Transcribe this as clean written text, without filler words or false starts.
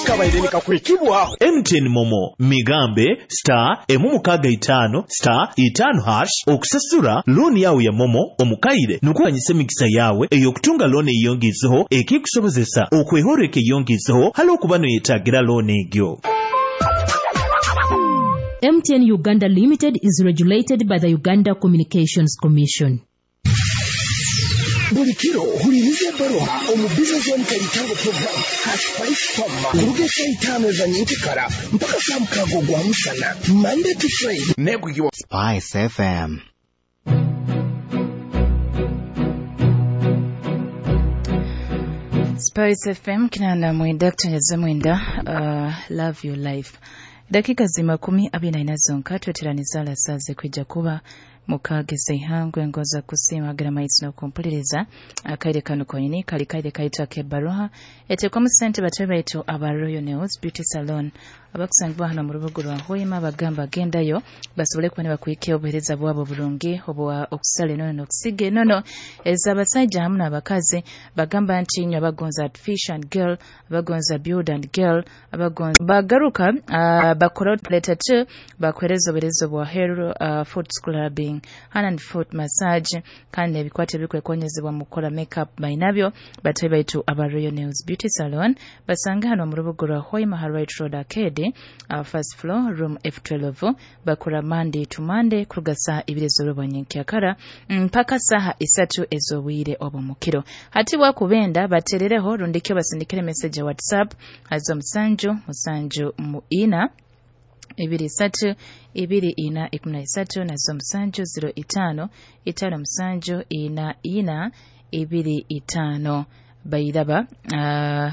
Kabaire nikakwekibwaho MTN Momo migambe star 6 5 star 5 hash okusasura looni yawe ya Momo omukaire nukuganyisa emikisa yawe ey'okutunga looni eyongezeho ekikusobozesa okwehoreka eyongezeho hali okuba noyetagira looni egyo. MTN Uganda Limited is regulated by the Uganda Communications Commission. Buli kiro huliriza ebbaruha omu Business One Kalitango program Haspice Farm kuruga esaa 5 eza nyenkikara mpaka saa 6 ogwa musana, Monday to Friday. Nekukiwa Spice FM. Spice FM 89 kuteneza 9. Love your life. Dakika zi 24 zonka tweteraniza alasaze kwijja kuba mukageza ihangwe ngoza kusiima agira maizi n'okumpuliriza. Akaire kano konyini kali kaire kaitu ak'ebbaruha etekwamu sente batwe baitu aba Royal Nails Beauty Salon abakusangibwa hano mu rubuga rwa Hoima. Bagamba gendayo basobole kuba nibakuhikia obuheereza bwabo burungi obwa okusala enono n'okusiga enono ez'abasajja hamu n'abakazi. Bagamba nti inywe abagonza artificial and girl, abagonza build and girl, abagonza bagaruka bakora leta 2 bakuhereza obuheereza obwa hair, foot scrubbing, hand and foot massage, kandi ebikwate ebikwekonyezebwa mu kukola makeup bainabyo. Batwe baitu aba Royal Nails Beauty Salon basanga hano mu rubuga rwa Hoima, Right Road Arcade, first floor, room F12. Bakora Monday to Monday kuruga saa 2 z'olubwa nyenkyakara mpaka saha 3 ez'obwire obw'omukiro. Hati bwakubenda baterereho rundikyo basindikire message ya WhatsApp azo 7 7 4 2 3 2 4 13 nazo 7 05 5 7 4 4 25 bairaba.